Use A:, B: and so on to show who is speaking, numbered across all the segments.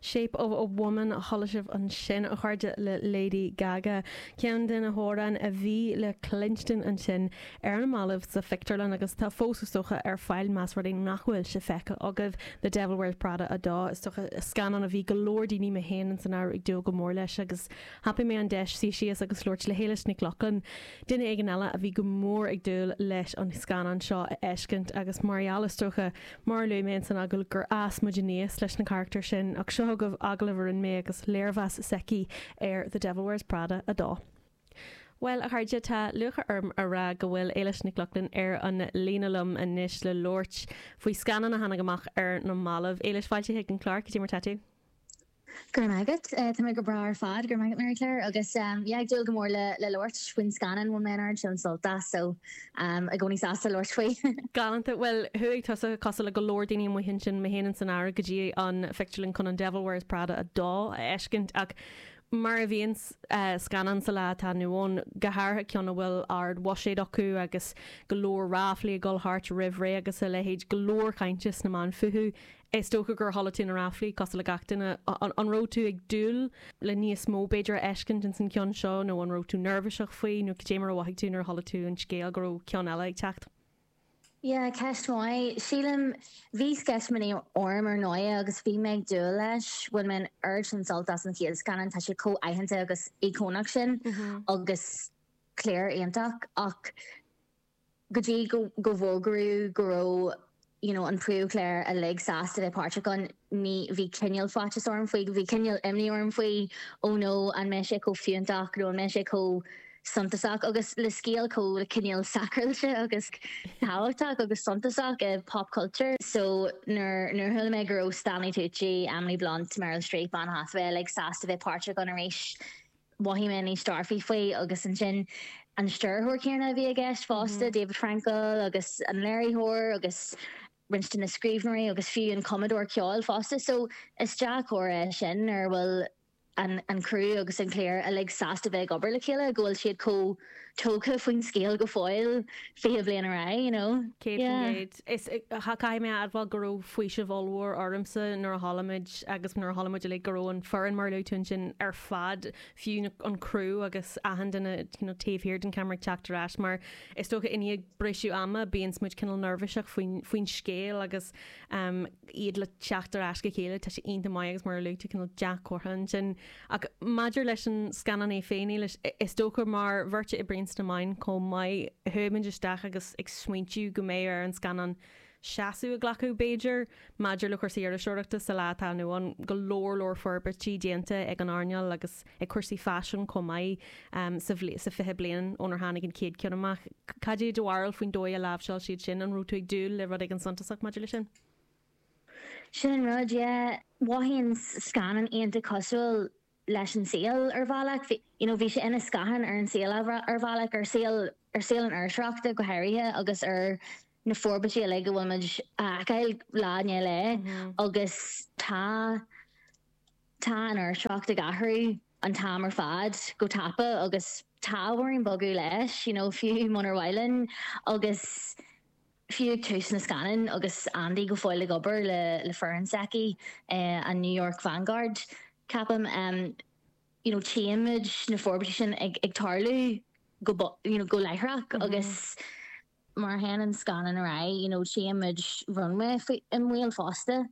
A: Shape of a Woman a chuala sibh ansin, a chairde, le Lady Gaga. Ceann de na hamhráin a bhí le cluinstin ansin ar na mallaibh sa phictiúrlann agus atá fós, is dócha, ar fáil más rud é nach bhfuil sé feicthe agaibh, The Devil Wears Prada 2. Is dócha, scannán a bhí go leor daoine, mé féin san áireamh, ag dúil go mór leis agus thapaigh mé an deis suí síos agus labhairt le hÉilis Nic Lochlainn, duine éigin eile a bhí go mór ag dúil leis an scannán seo a fheiscint agus mar gheall, is dócha, Mar a luaigh mé ins an agallamh gur fhás muid aníos leis na carachtair sin ach seo chugaibh agallamh a rinne mé agus léirmheas s'aici ar The Devil Wears Prada 2. Bhuel, a chairde, tá lúcháir orm a rá go bhfuil Éilis Nic Lochlainn ar an líne liom anois le labhairt faoi scannán a tháinig amach ar na mallaibh. Éilis, fáilte chuig an chlár, cad é mar tá tú?
B: Go raibh maith agat. Tá mé go breá ar fad. Go raibh maith agat, Mary Claire. Agus yeah, ag dúil go mór le le labhairt faoin scannán. Bhain mé an oiread sin sult as, so i gcónaí sásta labhairt faoi.
A: Galánta. Bhuel, chuaigh tusa, cosúil le go leor daoine amuigh ansin, mé féin san áireamh, go dtí an phictiúrlann chun an Devil Wears Prada 2 a fheiscint ach mar a bhíonn scannáin sa lá atá inniu ann, go háirithe ceann a bhfuil ard-bhuiséad acu agus go leor ráflaí ag dul thart roimh ré agus a leithéid, go leor cainte sna meáin fúthu. Is dócha gur chuala tú na ráflaí, cosúil le gach duine. An raibh tú ag dúil le níos mó, b'fhéidir, a fheiscint ins an cheann seo nó an raibh tú neirbhíseach faoi nó cad é mar a mhothaigh tú nuair a chuala tú an scéal go raibh ceann eile ag teacht?
B: Yeah, ceist mhaith. Sílim, bhí sceitimíní orm ar ndóigh agus bhí mé ag dúil leis. Bhain mé an oiread sin sult as an chéad scannán, tá sé chomh aitheanta agus íocónach sin agus cliar iontach ach go dtí go go bhfógraíodh go raibh you know an príomhchliar uilig sásta bheith páirteach ann, ní, bhí cineál faitíos orm faoi, bhí cineál imní orm faoi, oh no, an mbeidh sé chomh fiúntach nó an mbeidh sé chomh suntasach agus le scéal chomh cineál sacráilte agus tábhachtach agus suntasach i pop culture. So nuair nuair a chuala mé go raibh Stanley Tucci, Emily Blunt, Meryl Streep, Anne Hathaway uilig sásta bheith páirteach ann arís, mhothaigh mé níos dearfaí faoi agus ansin an stiúrthóir céanna a bhí i gceist fosta, David Frankel agus an léiritheoir agus roinnt de na scríbhneoirí agus fiú an cumadóir ceoil fosta. So is dea-chomhartha é sin nuair a bhfuil an an criú agus an cliar uilig sásta bheith ag obair le chéile, go bhfuil siad chomh tógtha faoin scéal go fóill 20 bliain ar aghaidh, you know.
A: 100%. Is caithfidh mé a admháil go raibh faoiseamh ollmhór ormsa nuair a chuala muid agus nuair a chuala muid uilig go raibh an foireann mar a luaigh tú ansin ar fad, fiú an criú agus achan duine you know taobh thiar den cheamara ag teacht ar ais mar is dócha i ndiaidh briseadh ama bíonns muid cineál neirbhíseach faoin faoin scéal agus um, iad le teacht ar ais go chéile, tá sé iontach maith agus mar a luaigh tú cineál dea-chomhartha ansin. Ach maidir leis an scannán é féin, Éilis, is dócha mar bheirt a oibríonn sna meáin chomh maith, chuaigh muid isteach agus ag smaointiú go mbeadh ar an scannán seasamh a ghlacadh, b'fhéidir, maidir le cúrsaí iriseoireachta sa lá atá inniu ann. Go leor leor forbairtí déanta ag an earnáil agus ag cúrsaí faisin chomh maith sa 20 bliain ónar tháinig an chéad cheann amach. Cad é do bharúil faoin dóigh a láimhseáil siad sin? An raibh tú ag dúil le rud éigin suntasach maidir leis sin?
B: Sin an rud, yeah. Mhothaigh an scannán iontach cosúil leis an saol ar bhealach. Bhí, you know, bhí sé ina scáthán ar an saol ar bhealach, ar saol, ar saol an iriseoireachta go háirithe agus ar na forbairtí uilig a bhfuil muid a fheiceáil lá i ndiaidh lae agus tá, tá an iriseoireacht ag athrú an t-am ar fad go tapa agus tá orainn bogadh leis, you know, fiú munar mhaith linn agus fiú ag tús na scannáin agus Andy go fóill ag obair le le foireann s'aici, an New York Vanguard, ceapaim, you know, tchíonn muid na forbairtí sin ag ag tarlú go, you know, go láithreach agus mar a théann an scannán ar aghaidh, you know, tchíonn muid runway faoi i mbaol fosta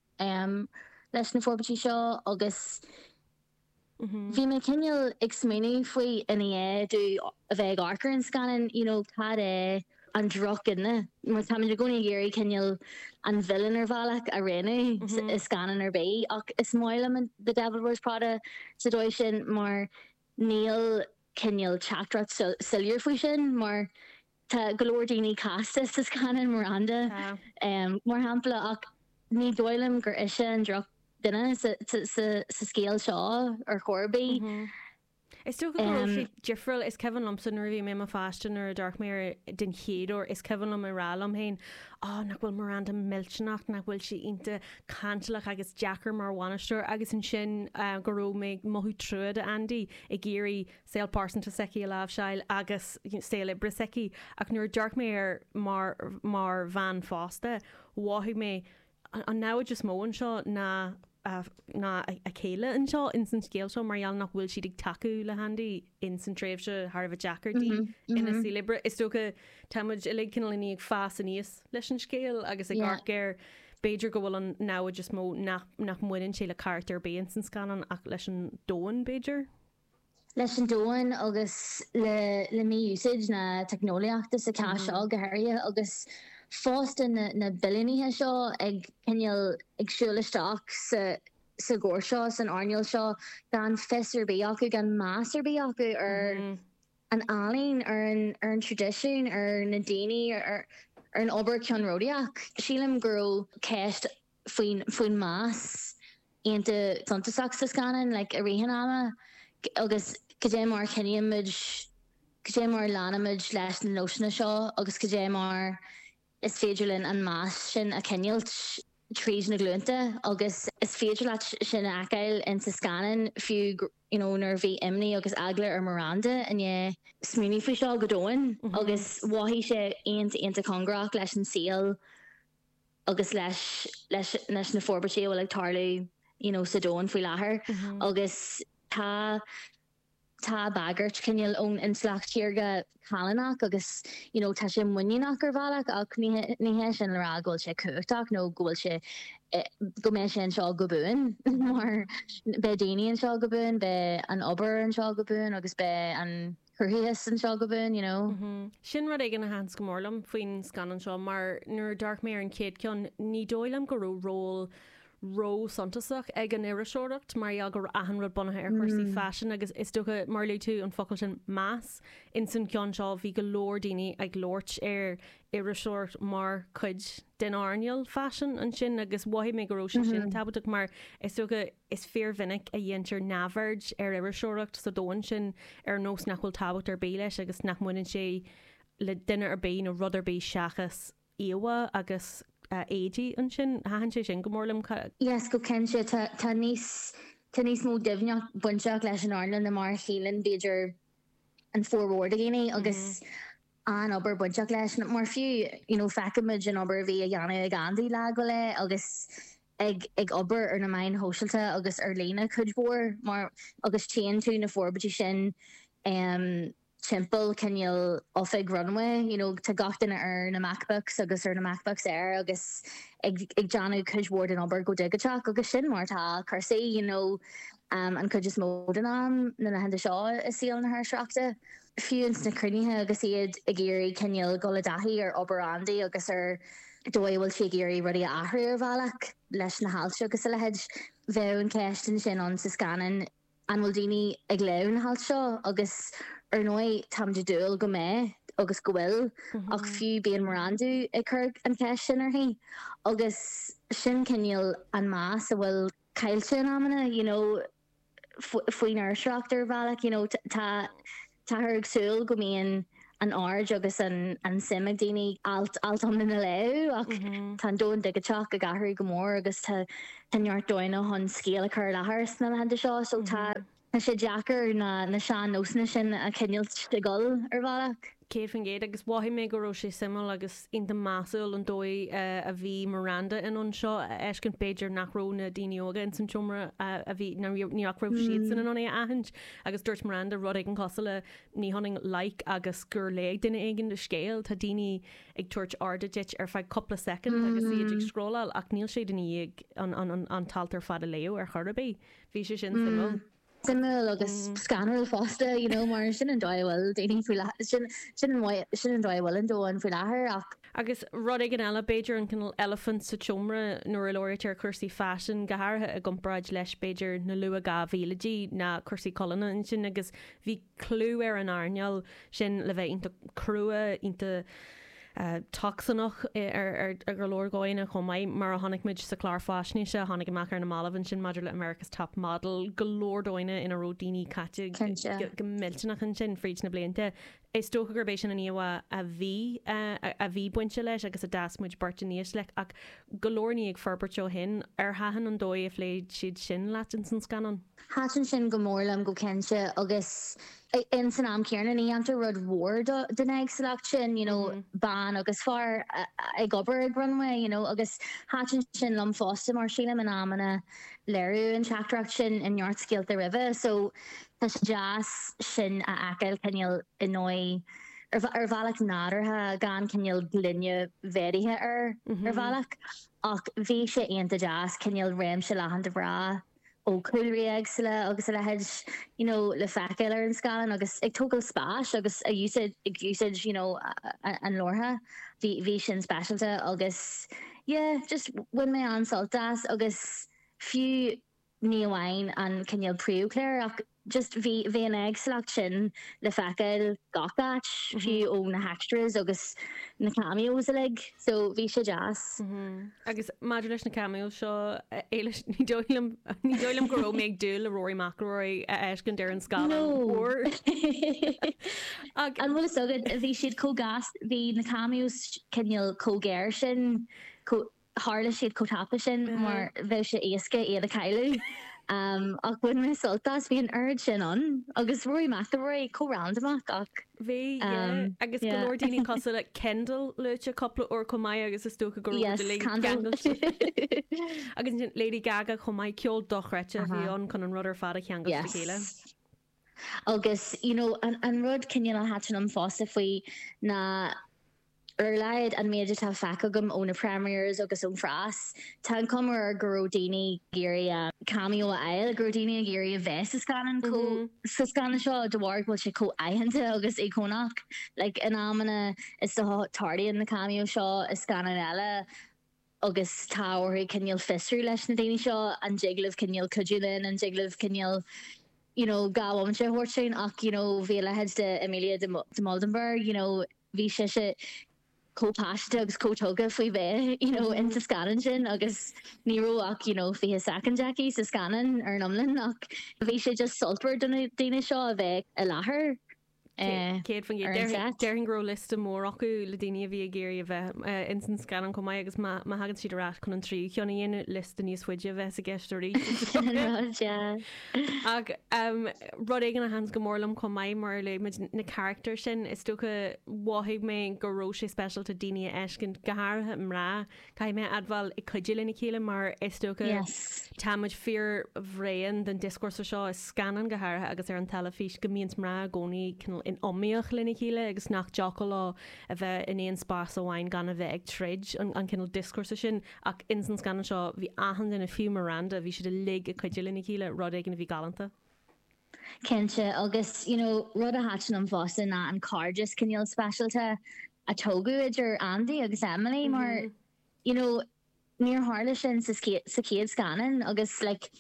B: leis na forbairtí seo agus bhí mé cineál ag smaoineamh faoi i ndiaidh domh a bheith ag amharc ar an scannán, you know, cad é an drochdhuine, mar táimid i gcónaí ag iarraidh cineál an villain ar bhealach a roghnú i scannán ar bith ach is maith liom The Devil Wears Prada sa dóigh sin mar níl cineál teachtaireacht soiléir faoi sin mar Tá go leor daoine casta sa scannán, Miranda mar shampla, ach ní dóigh liom gur ise an drochdhuine sa scéal seo ar chor ar bith.
A: Is dócha go raibh sé difriúil. Is cuimhin liomsa nuair a bhí mé i mo pháiste nuair a d'amharc mé air den chéad uair, is cuimhin liom ag rá liom féin, oh, nach bhfuil Miranda millteanach, nach bhfuil sí iontach cantalach agus deacair mar bhainisteoir agus ansin go raibh mé ag mothú trua do Andy ag iarraidh saol pearsanta s'aici a láimhseáil agus saol oibre s'aici ach nuair a d'amharc mé air mar mar bhean fásta mhothaigh mé an namhaid is mó anseo ná. ná a céile anseo ins an scéal seo mar gheall nach bhfuil siad ag tacú le hAndy ins an tréimhse thar a bheith deacair di ina saol oibre. Is dócha tá muid uilig cineál i ndiaidh fás aníos leis an scéal agus ag amharc air b'fhéidir go bhfuil an namhaid is mó nach nach mbaineann sé le carachtar ar bith ins an scannán ach leis an domhan b'fhéidir.
B: leis an domhan agus le le mí-úsáid na teicneolaíochta sa chás seo go háirithe agus fosta na na billiúnaithe seo ag cineál ag siúl isteach sa sa gcóras seo, san earnáil seo gan fios ar bith acu, gan meas ar bith acu ar an ealaín, ar an ar an traidisiún, ar na daoine, ar ar an obair ceannródaíoch. Sílim go raibh ceist faoin faoin meas iontach suntasach sa scannán like i rith an ama agus cad é mar a choinníonn muid, cad é mar a leanaimid leis na nósanna seo agus cad é mar is féidir linn an meas sin a choinneáilt tríd na glúnta agus is féidir leat sin a fheiceáil in sa scannán fiú you know nuair a bhí imní agus eagla ar Miranda i ndiaidh smaoineamh faoi seo go domhain agus mhothaigh sé iontach iontach cóngarach leis an saol agus leis leis leis na forbairtí a bhfuil ag tarlú you know sa domhan faoi láthair agus tá tá bagairt cineál ón intleacht shaorga callánach agus you know tá sé muiníneach ar bhealach ach ní ní hé sin le rá go bhfuil sé cumhachtach nó go bhfuil sé go mbeidh sé anseo go buan mar beidh daoine anseo go buan, beidh an obair anseo go buan agus beidh an cruthaitheas anseo go buan, you know.
A: Sin rud éigin a thaitin go mór liom faoin scannán seo mar nuair a d'amharc mé ar an chéad ceann ní dóigh liom go raibh ról ró-suntasach ag an iriseoireacht mar gheall go raibh achan rud bunaithe ar chúrsaí faisin agus is dócha mar a luaigh tú an focal sin meas ins an ceann seo bhí go leor daoine ag labhairt ar iriseoireacht mar chuid den earnáil faisin ansin agus mhothaigh mé go raibh sé sin tábhachtach mar is dócha Is fíormhinic a dhéantar neamhaird ar iriseoireacht sa domhan sin ar nós nach bhfuil tábhacht ar bith leis agus nach mbaineann sé le duine ar bith nó rud ar bith seachas íomhá agus éadaí ansin. Thaitin sé sin go mór liom.
B: Yes, go cinnte. Tá tá níos tá níos mó doimhneacht bainteach leis an earnáil ná mar a shíleann b'fhéidir an formhór de dhaoine agus an-obair bainteach leis mar fiú you know feicimid an obair a bhí á dhéanamh ag Andy lá go léith agus ag ag obair ar na meáin shóisialta agus ar líne cuid mhór mar agus tchíonn tú na forbairtí sin em timpeall cineál oifig Runway you know tá gach duine ar na MacBooks agus ar na MacBooks Air agus ag ag déanamh cuid mhór den obair go digiteach agus sin mar atá cúrsaí you know an chuid is mó den am na laethanta seo i saol na hiriseoireachta. Fiú ins na cruinnithe agus iad ag iarraidh cineál dul i dtaithí ar obair Andy agus ar dóigh a bhfuil sí ag iarraidh rudaí a athrú ar bhealach leis na hailt agus a leithéid, bheadh an cheist ansin ann sa scannán an bhfuil daoine ag léamh na hailt seo agus ar ndóigh táimid ag dúil go mbeidh agus go bhfuil ach fiú bíonn Miranda ag cur an cheist sin uirthi agus sin cineál an meas a bhfuil caillte in amanna you know. faoin iriseoireacht ar bhealach, you know, tá táthar ag súil go mbíonn an aird agus an an suim ag daoine alt alt iomlán a léamh ach tá an domhan digiteach ag athrú go mór agus tá tá neart dóigheanna chun scéal a chur i láthair sna laethanta seo so tá tá sé deacair na na sean-nósanna sin a choinneáilt ag dul ar bhealach.
A: 100% agus mhothaigh mé go raibh sé suimiúil agus iontach measúil an dóigh a bhí Miranda in ann seo a fheiscint, b'fhéidir nach raibh na daoine óga ins an tseomra a bhí, nach raibh siadsan in ann é a aithint agus dúirt Miranda rud éigin cosúil le ní hionann like agus gur léigh duine éigin do scéal, tá daoine ag tabhairt airde duit ar feadh cúpla soicind agus iad ag scrolláil ach níl siad i ndiaidh an t-alt ar fad a léamh ar chor ar bith. Bhí sé sin suimiúil.
B: suimiúil agus scanrúil fosta, you know, mar sin an dóigh a bhfuil daoine faoi láthair, sin, sin an mhaith, sin an dóigh a bhfuil an domhan faoi láthair ach.
A: Agus rud éigin eile, b'fhéidir an cineál eilifint sa tseomra nuair a labhraítear cúrsaí faisin, go háirithe i gcomparáid leis b'fhéidir na luath 2000idí, ná cúrsaí colainne ansin agus bhí clú ar an earnáil sin le bheith iontach crua, iontach tocsaineach ar go leor dóigheanna chomh maith, mar a chonaic muid sa chlár faisnéise a tháinig amach ar na mallaibh ansin maidir le America's Top Model, go leor dóigheanna ina raibh daoine caite go millteanach ansin fríd na blianta. Is dócha gurb é sin an íomhá a bhí a bhí bainte leis agus a d'fhás muid beirt aníos leis ach go leor ní ag forbairt ó shin. Ar thaitin an dóigh a phléigh siad sin leat ins an scannán?
B: Thaitin sin go mór liom go cinnte agus ins an am céanna ní dhéantar rud mhór den éagsúlacht sin, you know, bean agus fear ag obair ag Runway, you know, agus thaitin sin liom fosta mar sílim in amanna léiriú an teachtaireacht sin i neart scéalta roimhe so tá sé deas sin a fheiceáil cineál i ndóigh ar bhealach nádúrtha gan cineál gloine mhéadaithe air ar bhealach ach bhí sé iontach deas cineál réimse leathan de mhná ó chúlraí éagsúla agus a leithéid you know le feiceáil ar an scáileán agus ag tógáil spáis agus a úsáid ag úsáid you know an labhartha bhí bhí sin speisialta agus yeah just bhain mé an-sult as agus fiú ní amháin an cineál príomhchliar ach just bhí bhí an éagsúlacht sin le feiceáil gach áit, fiú ó na hextras agus na cameos uilig so bhí sé deas.
A: Agus maidir leis na cameos seo, Éilis, ní dóigh liom ní dóigh liom go raibh mé ag dúil le Rory McIlroy a fheiscint ar an scáileán
B: mór. An bhfuil fhios agat, bhí siad chomh gasta, bhí na cameos cineál chomh géar sin, chomh. Tharla siad chomh tapa sin mar bheadh sé éasca iad a chailleadh. Ach bhain mé sult as, bhí an oiread sin ann. Agus Rory McIlroy chomh randamach ach.
A: Bhí, yeah. Agus go leor daoine cosúil le Kendall luaite cúpla uair chomh maith agus is dócha go raibh muid uilig ceangailte. Agus ansin Lady Gaga chomh maith, ceol dochreidte a bhí ann chun an rud ar fad a cheangal le chéile.
B: Agus you know an rud cineál a thaitin liom fosta faoi ná Ar a laghad, an méid atá feicthe agam ó na premieres agus ón phreas, tá an chuma air go raibh daoine ag iarraidh cameo a fháil, go raibh daoine ag iarraidh a bheith sa scannán chomh, sa scannán seo de bharr go bhfuil sé chomh aitheanta agus íocónach. Like, in amanna is dócha tarlaíonn na cameos seo i scannáin eile agus tá orthu cineál fiosrú leis na daoine seo an dtig libh cineál cuidiú linn, an dtig libh cineál you know 2 bhomaite a thabhairt dúinn ach you know bhí a leithéid de Emilia de Muldenberg you know bhí sise chomh paiseanta agus chomh tugtha faoi bheith you know in sa scannán sin agus ní raibh ach you know 20 soicind aici sa scannán ar an iomlán ach bhí sé just sultmhar do na daoine seo a bheith i láthair
A: eh, 100%. ar an set. Déarfainn go raibh liosta mór acu le daoine a bhí ag iarraidh a bheith eh, ins an scannán chomh maith agus má má thagann siad ar ais chun an tríú ceann a dhéanamh, liosta níos faide a bheas i gceist arís.
B: Sin an rud, yeah.
A: Ach rud éigin a thaitin go mór liom chomh maith mar a luaigh muid na carachtair sin, is dócha mhothaigh mé go raibh sé speisialta daoine a fheiscint, go háirithe mná, caithfidh mé a admháil, ag cuidiú lena chéile mar is dócha tá muid fíor bhréan den dioscúrsa seo i scannáin go háirithe agus ar an teilifís go mbíonns mná i gcónaí cineál in iomaíocht lena chéile agus nach dtiocfadh leo a bheith in aon spás amháin gan a bheith ag troid, an cineál dioscúrsa sin. Ach ins an scannán seo, bhí achan duine, fiú Miranda, bhí siad uilig ag cuidiú lena chéile, rud éigin a bhí galánta.
B: Cinnte, agus you know rud a thaitin liom fosta ná an cairdeas cineál speisialta a tógadh idir Andy agus Emily mar you know níor tharla sin sa sa chéad scannán agus like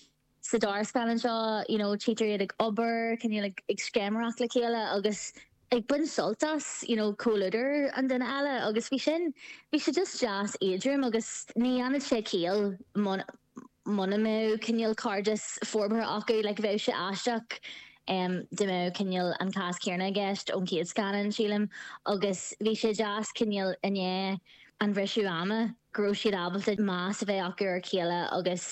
B: sa dara scannán seo you know tchítear iad ag obair, cineál ag ag scéiméireacht le chéile agus ag baint sult as you know comhluadar an duine eile agus bhí sin, bhí sé just deas éadrom agus ní dhéanfadh sé ciall muna muna mbeadh cineál cairdeas forbartha acu like bheadh sé aisteach em dá mbeadh cineál an cás céanna i gceist ón chéad scannán sílim agus bhí sé deas cineál i ndiaidh an bhriseadh ama go raibh siad ábalta meas a bheith acu ar a chéile agus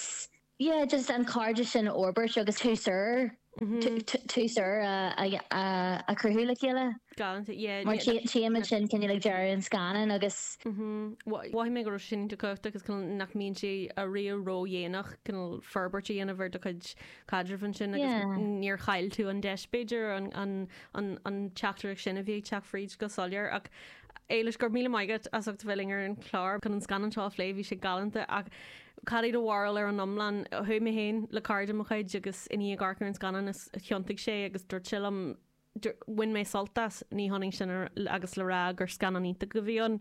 B: Yeah, just an cairdeas sin a fhorbairt agus tús úr, tús úr a chruthú le chéile.
A: Galánta, yeah.
B: Mar tchímid sin cineál ag deireadh an scannáin agus.
A: Mhothaigh mé go raibh sin iontach cumhachtach agus cineál nach mbíonn sé ariamh ródhéanach cineál forbairt a dhéanamh ar do chuid caidrimh ansin agus níor chaill tú an deis b'fhéidir an an teachtaireacht sin a bhí ag teacht fríd go soiléir ach Éilis, go raibh míle maith agat as ucht a bheith linn ar an chlár chun an scannán seo a phlé, bhí sé galánta ach cad é do bharúil ar an iomlán? Chuaigh mé féin le cara de mo chuid agus i ndiaidh amharc ar an scannán is thiontaigh sé agus dúirt sé liom bhain mé sult as, ní hionann sin agus le rá gur scannán iontach a bhí ann.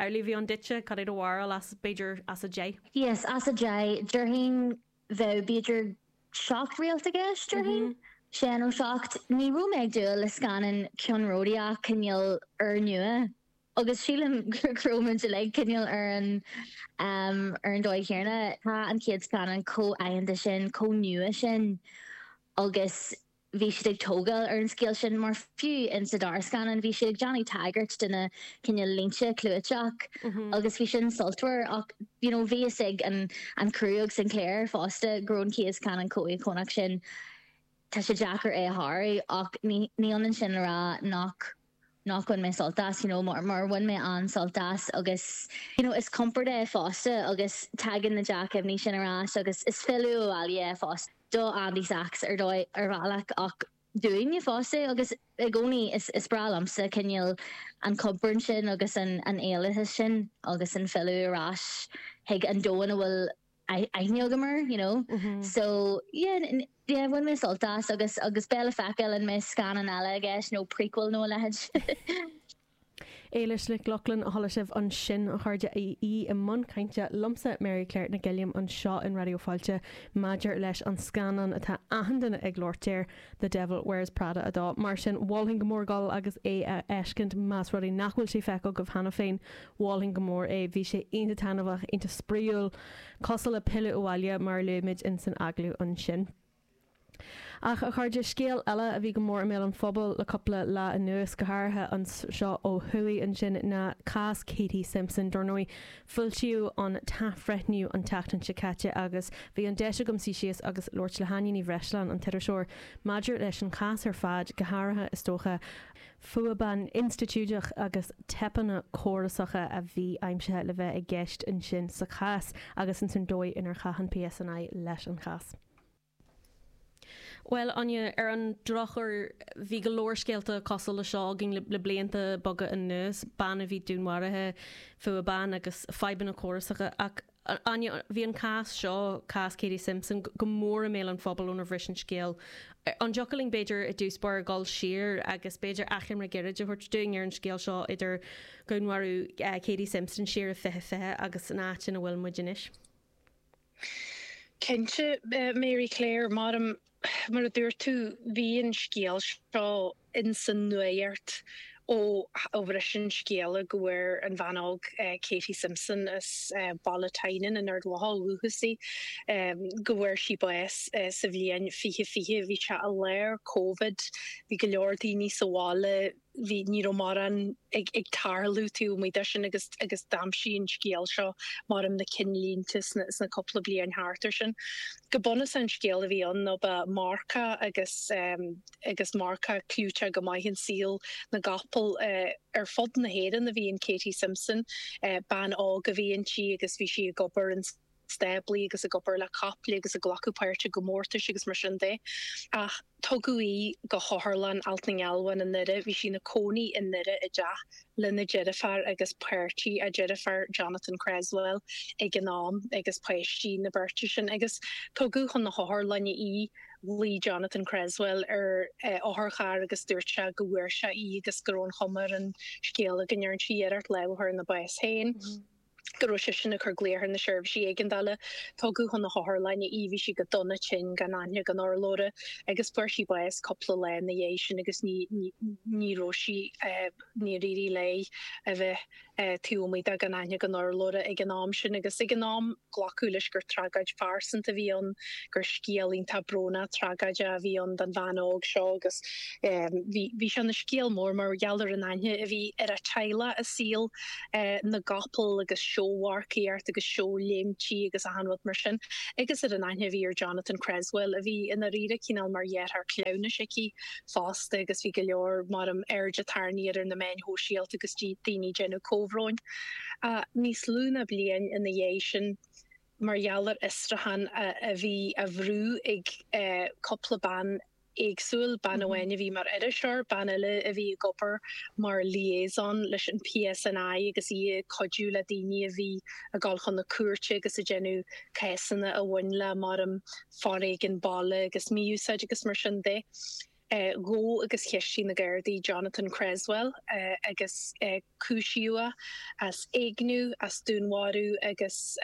A: Amhlaidh a bhí ann duitse, cad é do bharúil as, b'fhéidir, as 10?
B: Yes, as 10, déarfainn bheadh b'fhéidir 7 réalt i gceist, déarfainn. Sé nó 7. Ní raibh mé ag dúil le scannán ceannródaíoch cineál úrnua agus sílim go raibh muid uilig cineál ar an ar an dóigh chéanna. Tá an chéad scannán chomh aitheanta sin, chomh nua sin agus. bhí siad ag tógáil ar an scéal sin mar fiú in sa dara scannán bhí siad ag déanamh tagairt do na cineál línte clúiteach agus bhí sin sultmhar ach you know bhí fhios ag an an criú agus an chliar fosta go raibh an chéad scannán chomh íocónach sin tá sé deacair é a shárú ach ní ní ionann sin le rá nach nach bhain mé sult as, you know, mar mar bhain mé an-sult as agus, you know, is compord é fosta agus tagann na dea-chuimhní sin ar ais agus is filleadh abhaile é fosta do Andy Sachs ar dóigh, ar bhealach ach dúinne fosta agus i gcónaí is is breá liomsa cineál an compord sin agus an an éalachas sin agus an filleadh ar ais chuig an domhan a bhfuil aithne agam air, you know. So, yeah, yeah, bhain mé sult as agus agus beidh le feiceáil an mbeidh scannán eile i gceist nó prequel nó a leithéid.
A: Éilis Nic Lochlainn a chuala sibh ansin, a chairde, í i mbun cainte liomsa, Mary Claire Nic Uilliam, anseo in Raidió Fáilte maidir leis an scannán atá achan duine ag labhairt air, The Devil Wears Prada 2. Mar sin, mholfainn go mór dul agus é a fheiscint más rud é nach bhfuil sé feicthe agaibh cheana féin. Mholfainn go mór é. Bhí sé iontach taitneamhach, iontach spraíúil, cosúil le pilleadh abhaile mar a luaigh muid in san agallamh ansin. Ach, a chairde, scéal eile a bhí go mór i mbéal an phobail le cúpla lá anuas, go háirithe anseo ó thuaidh ansin, ná cás Katie Simpson. Dar ndóigh, Foilsíodh an t-athbhreithniú an tseachtain seo caite agus bhí an deis agam suí síos agus labhairt le hÁine Ní Bhreisleáin, an t-iriseoir, maidir leis an chás ar fad, go háirithe, is dócha, fuath ban institiúideach agus teipeanna córasacha a bhí aimsithe le bheith i gceist ansin sa chás agus ins an dóigh inar chaith an PSNI leis an chás. Bhuel, Áine, ar an drochuair, bhí go leor scéalta cosúil le seo againn le blianta beaga anuas, bean a bhí dúnmharaithe, fuath ban agus fadhbanna córasacha. Ach, Áine, bhí an cás seo, cás Katie Simpson, go mór i mbéal an phobail ónar bhris an scéal. An dtiocfadh linn, b'fhéidir, i dtús báire dul siar agus b'fhéidir achoimre gairid a thabhairt dúinn ar an scéal seo idir dhúnmharú Katie Simpson siar i 2020 agus an áit ina bhfuil muid anois?
C: Cinnte, Mary Claire, mar mar a dúirt tú, bhí an scéal seo ins an nuacht ó ó bhris an scéala go bhfuair an bhean óg Katie Simpson as Baile Tynan in Ard Mhacha ó dhúchas di, go bhfuair sí bás sa bhliain 2020. Bhí sé i lár Covid, bhí go leor daoine sa bhaile, bhí, ní raibh mórán ag, ag tarlú taobh amuigh de sin agus, agus d'aimsigh an scéal seo mar na cinnlínte sna, sna cúpla bliain thart air sin. Go bunúsach an scéal a bhí ann ná ba marcach agus, agus marcach clúiteach go maith in saol na gcapall ar fud na hÉireann a bhí in Katie Simpson, bean óg a bhí inti agus bhí sí ag obair in stáblaí agus ag obair le caiple agus ag glacadh páirte i gcomórtais agus mar sin de. Ach tugadh í go hOtharlann Allt na nGealbhan i nDoire, bhí sí ina cónaí i nDoire i dteach lena deirfiúr agus páirtí a deirfiúr, Jonathan Creswell, ag an am agus páistí na beirte sin. Agus tugadh chun na hotharlainne í, ghlaoigh Jonathan Creswell ar otharcharr agus dúirt sé go bhfuair sé í agus go raibh an chuma ar an scéal go ndearna sí iarracht lámh a chur ina bás féin. go raibh seisean ag cur glaoch ar na seirbhísí éigeandála. Tugadh chun na hotharlainne í, bhí sí go dona tinn, gan aithne gan urlabhra, agus fuair sí bás cúpla lá ina dhiaidh sin agus ní, ní raibh sí, níor éirigh léi a bheith taobh amuigh de gan aithne gan urlabhra ag an am sin. Agus ag an am glacadh leis gur tragóid phearsanta a bhí ann, gur scéal iontach brónach tragóideach a bhí ann don bhean óg seo agus bhí, bhí sé ina scéal mór mar gheall ar an aithne a bhí ar a teaghlach i saol na gcapall agus seómharcaíocht agus seóléimtí agus achan rud mar sin, agus ar an aithne a bhí ar Jonathan Creswell, a bhí i ndáiríre cineál mar dheartháir cleamhnais aici fosta agus bhí go leor mar airde tarraingthe air ar na meáin shóisialta agus daoine ag déanamh comhbhróin. Níos lú ná bliain ina dhiaidh sin, mar gheall ar fhiosrúchán a bhí á bhrú ag cúpla bean éagsúil, bean amháin a bhí mar iriseoir, bean eile a bhí ag obair mar liaison leis an PSNI agus í ag cuidiú le daoine a bhí ag dul chun na cúirte agus ag déanamh cásanna a bhain le mar foréigean baile agus mí-úsáid agus mar sin de. Ghabh agus cheistigh na Gardaí Jonathan Creswell agus cúisíodh é as éigniú, as dúnmharú agus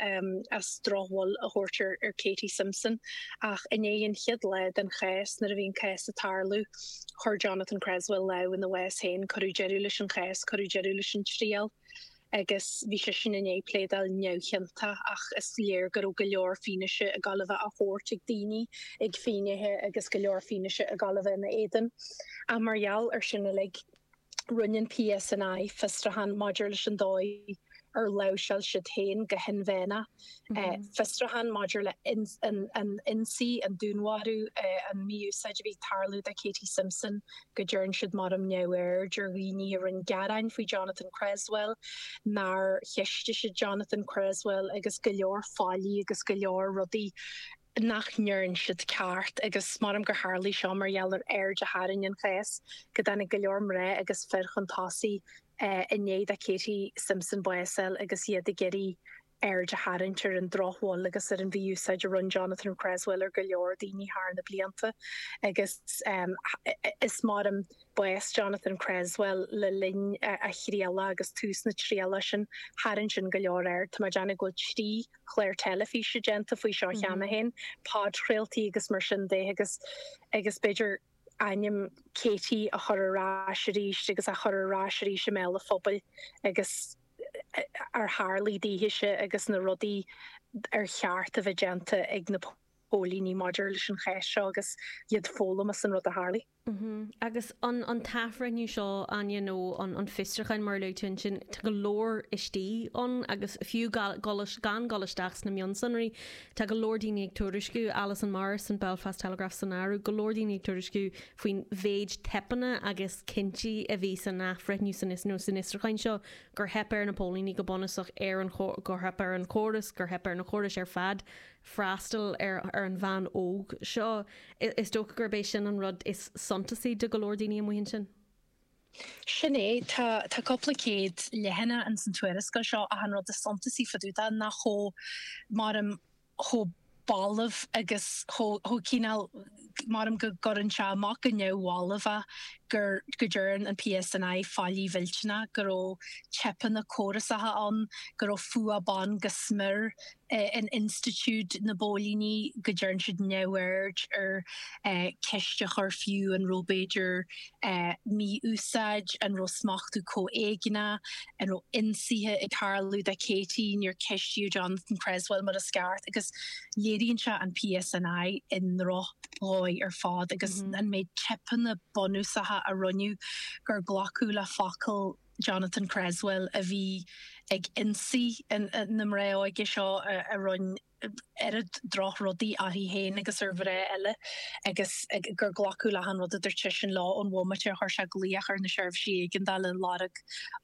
C: as drochbhail a thabhairt ar Katie Simpson. Ach i ndiaidh an chéad lá den chás, nuair a bhí an cás ag tarlú, chuir Jonathan Creswell lámh ina bhás féin. Cuireadh deireadh leis an chás, cuireadh deireadh leis an triail. Agus bhí seisean i ndiaidh pléadáil neamhchiontach ach is léir go raibh go leor fianaise ag dul a bheith á thabhairt ag daoine, ag finnéithe agus go leor fianaise ag dul a bheith ina éadan. Ach mar gheall ar sin uilig, rinne an PSNI fiosrúchán maidir leis an dóigh ar láimhseáil siad féin go hinmheánach, fiosrúchán maidir le an ionsaí, an dúnmharú, an mhí-úsáid a bhí ag tarlú do Katie Simpson, go dtearn siad maram neamhaird ar dhaoine a rinne gearáin faoi Jonathan Cresswell, nár cheistigh siad Jonathan Cresswell agus go leor faillí agus go leor rudaí nach ndearn siad ceart agus maram gur tharlaigh seo mar gheall ar aird a tharraing an chás, go dtáinig go leor mná agus fir chun tosaigh i ndiaidh do Katie Simpson bás a fháil agus iad ag iarraidh aird a tharraingt ar an drochbhail agus ar an mhí-úsáid a rinne Jonathan Cresswell ar go leor daoine thar na blianta agus is maram bás Jonathan Cresswell le linn a thrialach agus tús na trialach sin, tharraing sin go leor aird. Tá mé ag déanamh go bhfuil 3 chlár teilifíse déanta faoi seo cheana féin, podchraoltaí agus mar sin de agus agus b'fhéidir ainm Katie a chur ar ais arís agus a chur ar ais arís i mbéal an phobail agus ar tharlaigh daoithese agus na rudaí ar cheart a bheith déanta ag na póilíní maidir leis an chás seo agus iad foghlaim as an rud a tharlaigh.
A: Agus an an t-athbhreithniú seo, Áine, nó an an fiosrúchán mar a luaigh tú ansin, tá go leor istigh ann agus fiú gan dul isteach sna mionsonraí, tá go leor daoine ag tuairisciú, Alison Morris san Belfast Telegraph san áireamh, go leor daoine ag tuairisciú faoin mhéid teipeanna agus cinntí a bhí san athbhreithniú san nó san fhiosrúchán seo, gur theip ar na póilíní go bunúsach ar an gur theip ar an chóras, gur theip ar na córais ar fad freastal ar ar an bhean óg seo. Is dócha gurb é sin an rud is suntasaí do go leor daoine amuigh ansin.
C: Sin é. Tá tá cúpla céad leathanach ins an tuarascáil seo ach an rud is suntasaí fá dtaobh de ná chomh maram chomh balbh agus chomh chomh cineál maram go gcuireann sé amach go neamhbhalbh é gur go dtearn an PSNI faillí mhillteanach, go raibh teipeanna córasacha ann, go raibh fuath ban go smior in institiúid na bpóilíní, go dtearn siad neamhaird ar ceist a chur fiú an raibh b'fhéidir mí-úsáid, an raibh smachtú comhéigneach, an raibh ionsaithe ag tarlú do Katie, níor ceistíodh Jonathan Cresswell mar is ceart agus léiríonn sé an PSNI i ndrochdhóigh ar fad agus an méid teipeanna bunúsacha a rinneadh gur glacadh le focal Jonathan Cresswell a bhí ag ionsaí na mná óige seo a rinne oiread drochrudaí uirthi féin agus ar mhná eile agus gur glacadh le achan rud a dúirt seisean leo ón bhomaite a chuir sé glaoch ar na seirbhísí éigeandála ag lorg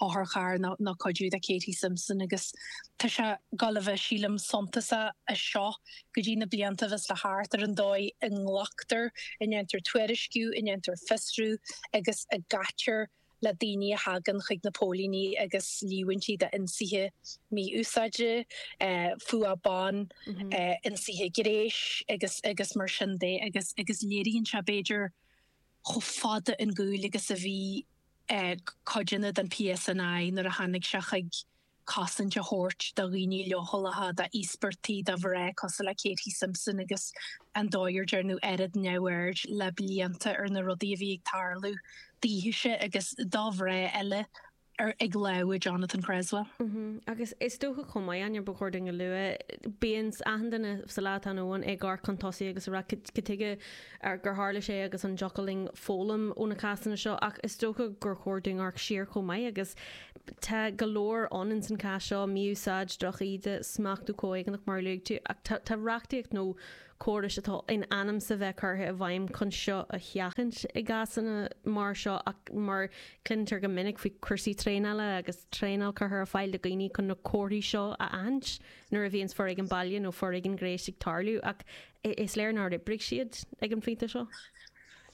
C: otharcharr nó cuidiú do Katie Simpson agus tá sé ag gabháil a bheith, sílim, suntasach as seo go dtí na blianta a bheas le theacht ar an dóigh a nglactar, a ndéantar tuairisciú, a ndéantar fiosrú agus a gcaitear le daoine a thagann chuig na póilíní agus líomhaintí d'ionsaithe mí-úsáide, fuath ban, ionsaithe gnéis agus agus mar sin de agus agus léiríonn sé b'fhéidir chomh fada ón gcúl agus a bhí codanna den PSNI nuair a tháinig sé chuig cosaint a thabhairt do dhaoine leochaileacha, d'íospartaigh, do mhná cosúil le Katie Simpson agus an dóigh ar dearnadh oiread neamhaird le blianta ar na rudaí a bhí ag tarlú daoithese agus do mhná eile ag lámha Jonathan Cresswell.
A: Agus is dócha chomh maith, Áine, ba chóir dúinn a lua, bíonn achan duine sa lá atá inniu ann ag amharc chun tosaigh agus ag rá cad tuige gur tharla sé agus an dtiocfadh linn foghlaim ó na cásanna seo ach is dócha gur chóir dúinn amharc siar chomh maith agus Tá go leor ann ins an cás seo, mí-úsáid, drochíde, smachtú comhéigneach mar a luaigh tú, ach tá tá reachtaíocht nó córais atá in ainm 's a bheith curtha i bhfeidhm chun seo a sheachaint i gcásanna mar seo ach mar cluintear go minic faoi cúrsaí traenála agus traenáil curtha ar fáil do dhaoine chun na comharthaí seo a aithint nuair a bhíonns foréigean baile nó foréigean gnéis ag tarlú ach is léir nár oibrigh siad ag an phointe seo.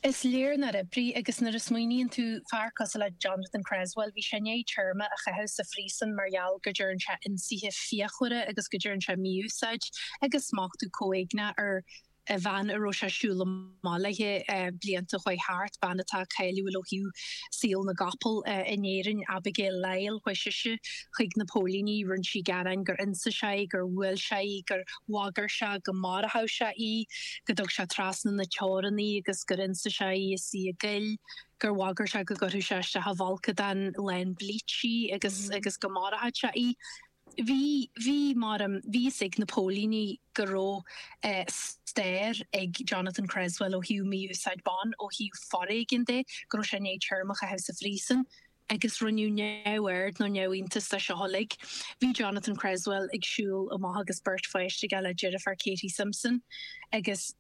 C: Is léir nár oibrigh agus nuair a smaoiníonn tú, fear cosúil le Jonathan Cresswell, bhí sé i ndiaidh téarma a chaitheamh sa phríosún mar gheall go dtearn sé ionsaithe fíochmhara agus go dtearn sé mí-úsáid agus smachtú comhéigneach ar. Bhean a raibh sé ag siúl amach léi blianta a chuaigh thart, bean atá cáiliúil ó thaobh saol na gcapall in Éirinn, Abigail Lyle, chuaigh sise chuig na póilíní, rinne sí gearán gur ionsaigh sé í, gur bhuail sé í, gur bhagair sé go maródh sé í, go dtug sé trasna na teorann í agus gur ionsaigh sé í is í i gcoill, gur bhagair sé go gcuirfeadh sé isteach i bhfolcadán lán bleach í agus agus go maródh sé í. Bhí, bhí, mar, bhí fhios ag na póilíní go raibh stair ag Jonathan Cresswell ó thaobh mí-úsáid ban, ó thaobh foréigean de, go raibh sé i ndiaidh téarma a chaitheamh sa phríosún agus rinneadh neamhaird nó neamhiontas de seo uilig. Bhí Jonathan Cresswell ag siúl amach agus beirt pháiste aige le deirfiúr Katie Simpson agus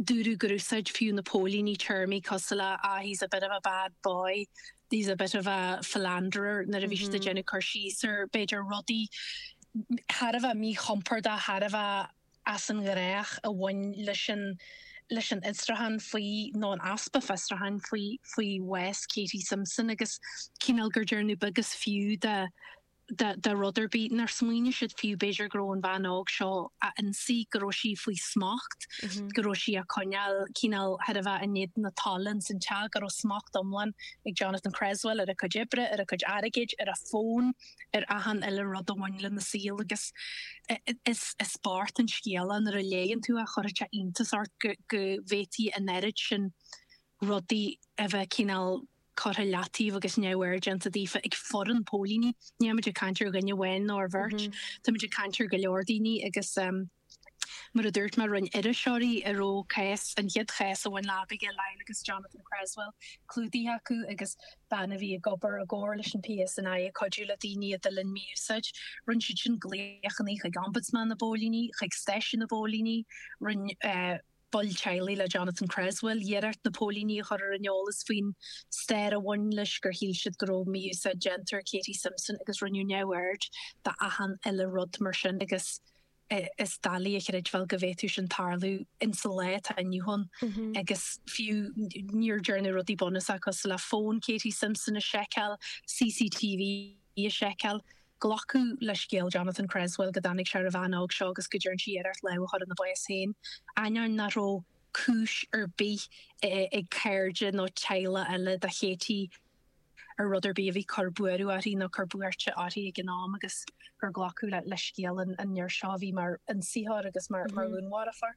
C: Dúradh gur úsáid fiú na póilíní téarmaí cosúil le ah he's a bit of a bad boy, he's a bit of a philanderer nuair a bhí siad ag déanamh cur síos ar, b'fhéidir, rudaí thar a bheith míchompordach, thar a bheith as an ngnách a bhain leis an leis an fhiosrúchán faoi, nó an easpa fiosrúcháin faoi, faoi bhás Katie Simpson agus cineál gur déanadh beag is fiú de de rud ar bith, nár smaoinigh siad fiú b'fhéidir go raibh an bhean óg seo á ionsaí, go raibh sí faoi smacht, go raibh sí á coinneáil cineál thar a bheith in éadan a tola ins an teach, go raibh smacht iomlán ag Jonathan Cresswell ar a cuid oibre, ar a cuid airgid, ar a fón, ar achan uile rud a bhain lena saol agus is is bocht an scéal é nuair a léann tú é, chuirfeadh sé iontas ort go go bhféadfaí an oiread sin rudaí a bheith cineál curtha i leataobh agus neamhaird déanta daofa ag foireann póilíní. Níl muid ag caint ar dhuine amháin nó ar bheirt, táimid ag caint ar go leor daoine agus mar a dúirt mé, rinne iriseoirí a raibh cás, an chéad chás a bhain le Abigail Lyle agus Jonathan Cresswell clúdaithe acu agus bean a bhí ag obair i gcomhar leis an PSNI ag cuidiú le daoine a d'fhulaing mí-úsáid, rinne siad sin glaochanna chuig Ombudsman na bPóilíní, chuig stáisiún na bpóilíní, rinne. baill teaghlaigh le Jonathan Cresswell iarracht na póilíní a chur ar an eolas faoin stair a bhain leis, gur shíl siad go raibh mí-úsáid déanta ar Katie Simpson agus rinneadh neamhaird d'achan uile rud mar sin agus is doiligh a chreidbheáil go bhféadfadh sin tarlú insa lá atá inniu ann agus fiú níor dearnadh rudaí bunúsacha cosúil le fón Katie Simpson a sheiceáil, CCTV a sheiceáil. Glacadh le scéal Jonathan Cresswell go dtáinig sé ar an bhean óg seo agus go dtearn sí iarracht lámh a chur ina bás féin, ainneoin nach raibh cúis ar bith ag cairde nó teaghlach eile do Katie ar rud ar bith a bhí cur buaireamh uirthi nó cur buairte uirthi ag an am agus gur glacadh le scéal an fhir seo a bhí mar ionsaitheoir agus mar dhúnmharfóir.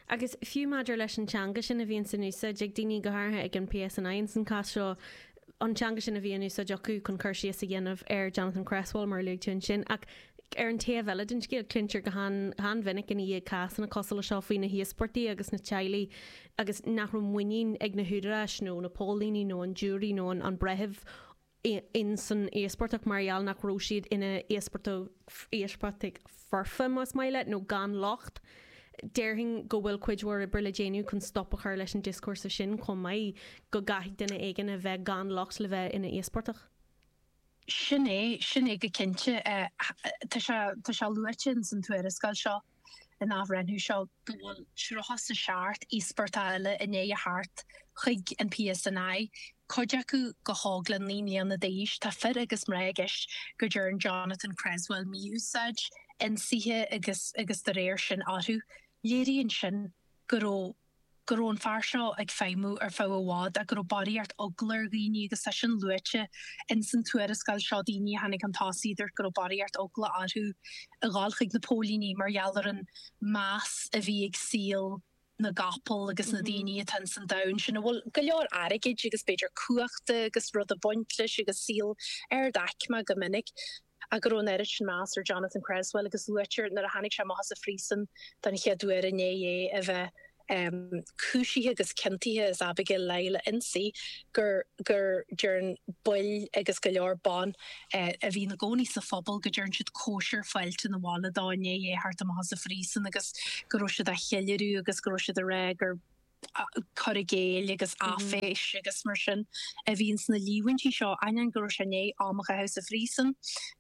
A: Agus fiú maidir leis an teanga sin a bhíonns in úsáid ag daoine, go háirithe ag an PSNI ins an cás seo, an teanga sin a bhí in úsáid acu chun cur síos a dhéanamh ar Jonathan Cresswell, mar a luaigh tú ansin. Ach ar an taobh eile den scéal, cluintear go han-mhinic ina dhiaidh cásanna cosúil le seo faoi na híospartaigh agus na teaghlaigh agus nach raibh muinín ag na húdaráis nó na póilíní nó an giúirí nó an breitheamh in san íospartach mar gheall nach raibh siad ina íospartaigh foirfe, más maith leat, nó gan locht. Déarfainn go bhfuil cuid mhór oibre le déanamh chun stop a chur leis an dioscúrsa sin chomh maith, go gcaithfidh duine éigin a bheith gan locht le bheith ina íospartach.
C: Sin é, sin é go cinnte. Tá sé, tá sé luaite ins an tuarascáil seo. an athbhreithniú seo go bhfuil 37 íospartach eile i ndiaidh a theacht chuig an PSNI, cuid acu chomh hóg le 9 mbliana d'aois. Tá fir agus mná i gceist go dtearn Jonathan Cresswell mí-úsáid, ionsaithe agus agus dá réir sin orthu. Léiríonn sin go raibh go raibh an fear seo ag feidhmiú ar feadh i bhfad ach go raibh barraíocht eagla ar dhaoine agus tá sin luaite ins an tuarascáil seo, daoine a tháinig chun tosaigh a dúirt go raibh barraíocht eagla orthu a dhul chuig na póilíní mar gheall ar an meas a bhí ag saol na gcapall agus na daoine atá ins an domhan sin a bhfuil go leor airgid agus b'fhéidir cumhachta agus rud ag baint leis agus saol ard-aicme go minic. Ach go raibh an oiread sin meas ar Jonathan Cresswell agus luaitear nuair a tháinig sé amach as an phríosún don chéad uair i ndiaidh é a bheith cúisithe agus ciontaithe as Abigail Lyle a ionsaí gur gur dhearn baill agus go leor ban a bhí ina gcónaí sa phobal go dtearn siad cóisir fáilte na bhaile dó i ndiaidh é a theacht amach as an phríosún agus go raibh siad á cheiliúradh agus go raibh siad ag rá gur cur i gcéill agus áiféis agus mar sin a bhí ins na líomhaintí seo, ainneoin go raibh sé i ndiaidh am a chaitheamh sa phríosún,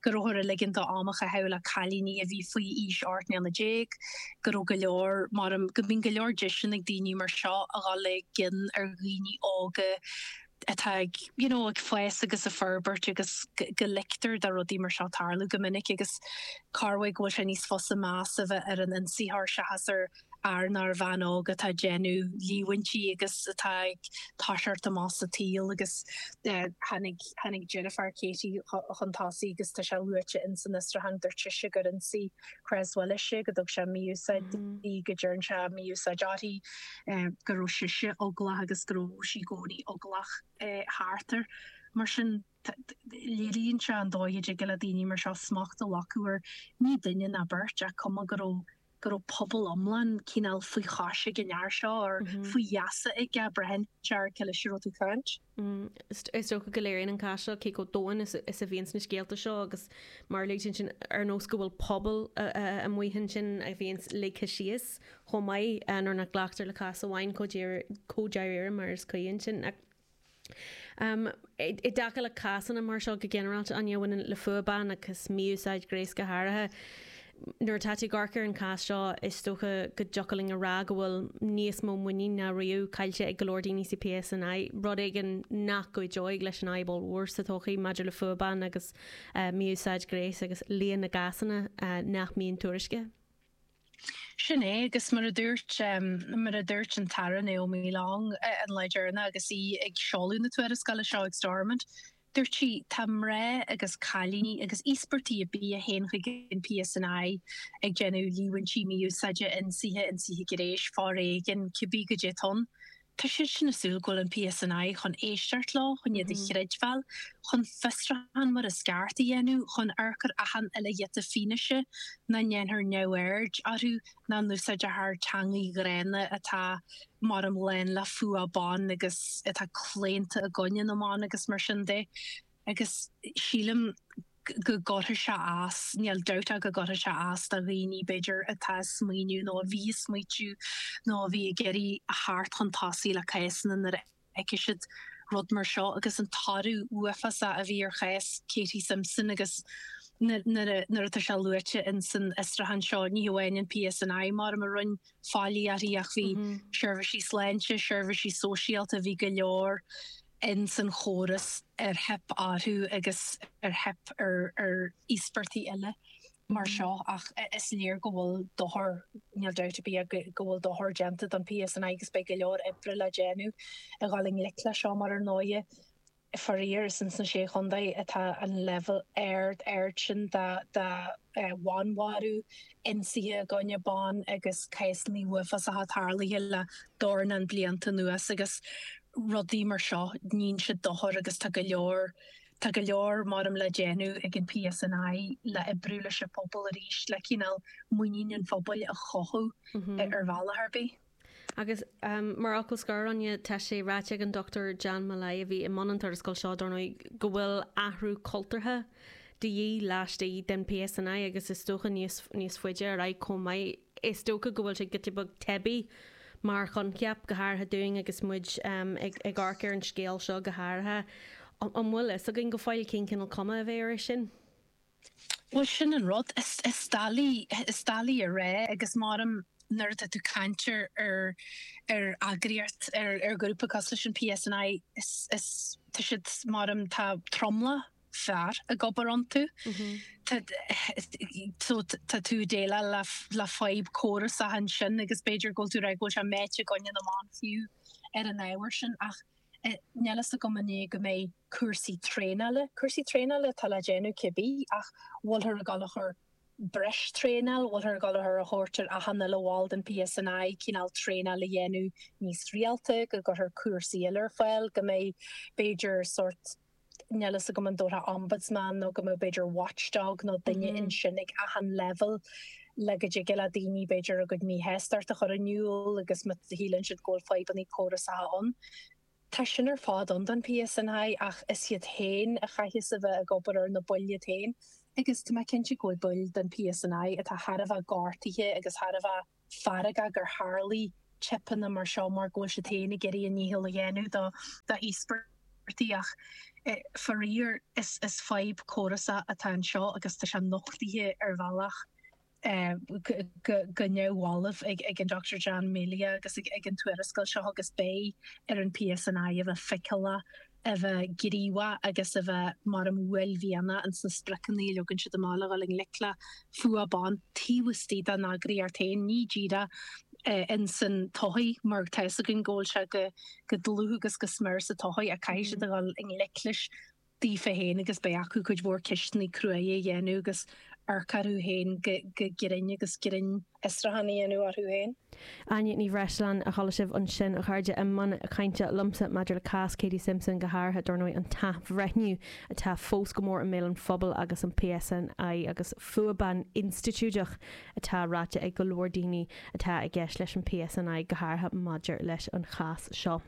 C: go rabhthar ag ligean dó am a chaitheamh le cailíní a bhí faoi aois 18 mbliana, go raibh go leor, mar go mbíonn go leor deiseanna ag daoine mar seo a dhul i gcion ar dhaoine óga atá ag, you know, ag fás agus ag forbairt agus go ligtear do rudaí mar seo tarlú go minic agus corruair go bhfuil sé níos fusa meas a bheith ar an ionsaitheoir seachas ar. fhear nó ar bhean óg atá ag déanamh líomhaintí agus atá ag toiseacht amach sa tsaol agus tháinig tháinig deirfiúr Katie chun tosaigh agus tá sé luaite ins an fhiosrúchán dúirt sise gur ionsaigh Chres Willis í, go dtug sé mí-úsáid di, go dtearn sé mí-úsáid uirthi, go raibh sise eaglach agus go raibh sí i gcónaí eaglach thart air. Mar sin, léiríonn sé an dóigh a dtig le daoine mar seo smacht a ghlacadh ar ní duine ná beirt ach cuma go raibh go raibh pobal iomlán cineál faoi chois ag an fhear seo or faoi gheasa aige, braitheann sé ar cé leis a raibh tú ag caint.
A: Is dócha go léiríonn an cás seo cé chomh domhain is a bhíonns na scéalta seo agus mar a luaigh tú ansin ar nós go bhfuil pobal amuigh ansin a bhíonns ligthe síos chomh maith nuair nach nglactar le cás amháin chomh dáiríre mar is cuí ansin. I dtaca le cásanna mar seo go ginearálta, Áine, a bhaineann le fuath ban agus mí-úsáid gnéis go háirithe, nuair atá tú ag amharc ar an chás seo, is dócha go dtiocfadh linn a rá go bhfuil níos mó muinín ná riamh caillte ag go leor daoine sa PSNI, rud éigin nach gcuideoidh leis an fhadhb ollmhór sa todhchaí maidir le fuath ban agus mí-úsáid gnéis agus líon na gcásanna nach mbíonn tuairiscithe.
C: Sin é, agus mar a dúirt, mar a dúirt an tAire Naomi Long an lá deireanach agus í ag seoladh na tuarascála seo ag Stormont, dúirt sí, tá mná agus cailíní agus íospartaigh ar bith a théann chuig an PSNI ag déanamh líomhaintí mí-úsáide, ionsaithe, ionsaithe gnéis, foréigin, cibé goidé atá ann. Tá siad sin ag súil go bhfuil an PSNI chun éisteacht leo, chun iad a chreidbheáil, chun fiosrúchán mar is ceart a dhéanamh, chun amharc ar achan uile ghiota fianaise, nach ndéanfar neamhaird orthu, nach n-úsáidfear teangaidh ghránna atá maram lán le fuath ban agus atá claonta i gcoinne na mban agus mar sin de. Agus sílim go gcuirfidh sé as, níl dabht ach go gcuirfidh sé as do dhaoine, b'fhéidir, atá ag smaoineamh nó a bhí ag smaoitiú nó a bhí ag iarraidh a theacht chun tosaigh le cásanna nuair a fheicfidh siad rud mar seo agus an toradh uafásach a bhí ar chás Katie Simpson agus nuair atá sé luaite in san fhiosrúchán seo, ní hamháin an PSNI maram a rinne faillí uirthi ach bhí seirbhísí sláinte, seirbhísí sóisialta, bhí go leor in san chóras ar theip orthu agus ar theip ar ar íospartaigh eile mar seo ach is léir go bhfuil dochar, níl dabht ar bith go bhfuil dochar déanta don PSNI agus beidh go leor oibre le déanamh a dhul i ngleic le seo mar ar ndóighe faraor is ins na Sé Chontae atá an leibhéal ard ard sin de de bhanmharú, ionsaithe i gcoinne ban agus cásanna uafásacha tarlaithe le dornán blianta anuas agus rudaí mar seo, níonn siad dochar agus tá go leor, tá go leor maram le déanamh ag an PSNI le oibriú leis an phobal arís, le cineál muinín an phobail a chothú ar bhealach ar bith.
A: Agus mar fhocal scoir, Áine, tá sé ráite ag an Dr Jan Molloy, a bhí i mbun an tuarascáil seo, dar ndóigh, go bhfuil athrú cultúrtha de dhíth laistigh den PSNI agus is dócha níos, níos faide ar aghaidh chomh maith. Is dócha go bhfuil sé giota beag teibí mar choincheap, go háirithe dúinn agus muid ag amharc ar an scéal seo go háirithe. An bhfuil fhios againn go fóill cén cineál cuma a bheidh air sin?
C: Bhuel, sin an rud. Is doiligh, is doiligh a rá agus maram nuair atá tú ag caint ar, ar, ar eagraíocht, ar, ar ghrúpa cosúil leis an PSNI, is, is, tá siad, maram, tá tromlach fear ag obair iontu. Tá so tá tú ag déileáil le le fadhb córasach ansin agus b'fhéidir go bhfuil tú ag rá go bhfuil sé meáite i gcoinne na mban fiú ar an ábhar sin ach níl fhios agam an é go mbeidh cúrsaí traenála, cúrsaí traenála atá le déanamh cibé ach bhfuilthear ag dul a chur breis traenáil, bhfuilthear ag dul a chur a thabhairt ar achan uile bhall den PSNI cineál traenáil a dhéanamh níos rialta, go gcuirfear cúrsaí eile ar fáil, go mbeidh b'fhéidir sórt níl fhios agam an dtabharfá ombudsman nó go mbeadh b'fhéidir watchdog nó duine ansin ag achan leibhéal le go dtig le daoine b'fhéidir a gcuid míshástacht a chur in iúl agus má shíleann siad go bhfuil fadhbanna córasacha ann. Tá sin ar fad ann don PSNI ach is iad féin a chaithfeas a bheith ag obair ar na baill iad féin agus tá mé cinnte go bhfuil baill den PSNI atá thar a bheith gortaithe agus thar a bheith feargach gur tharlaigh teipeanna mar seo mar go bhfuil siad féin ag iarraidh a ndícheall a dhéanamh do d'íospartaigh ach faraor is is fadhb córasach atá anseo agus tá sé nochtaithe ar bhealach go go neamhbhalbh ag ag an Dr Jan Melia agus ag ag an tuarascáil seo agus beidh ar an PSNI a bheith feiceálach a bheith gníomhach agus a bheith maram uaillmhianach ins na spriocanna a leagann siad amach le dhul i ngleic le fuath ban taobh istigh dá n-eagraíocht féin, ní díreach. Insan tsochaí, mar tá fhios againn go bhfuil sé go dlúth agus go smior sa tsochaí ach caithfidh siad a dhul i ngleic leis daofa féin agus beidh acu cuid mhór ceisteanna cruaidhe a dhéanamh agus amharc orthu féin go grinn agus grinnfhiosrúchán a dhéanamh orthu féin.
A: Áine Ní Bhreisleáin a chuala sibh ansin, a chairde, i mbun cainte liomsa maidir le cás Katie Simpson, go háirithe, dar ndóigh, an t-athbhreithniú atá fós go mór i mbéal an phobail agus an PSNI agus fuath ban institiúideach atá ráite ag go leor daoine atá i gceist leis an PSNI, go háirithe maidir leis an chás seo.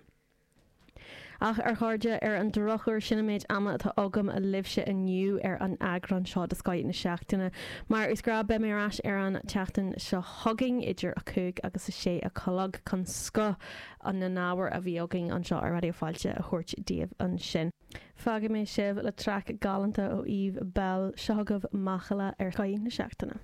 A: Ach, a chairde, ar an drochuair, sin an méid ama atá agam libhse inniu ar an eagrán seo de Scoth na Seachtaine. Mar is gnáth, beidh mé ar ais ar an tseachtain seo chugainn idir 5 agus 6 a chlog chun scoth na n-ábhar a bhí againn anseo ar Raidió Fáilte a thabhairt daoibh ansin. Fágfaidh mé sibh le traic galánta ó Eve Belle. Seo chugaibh Macalla ar Scoth na Seachtaine.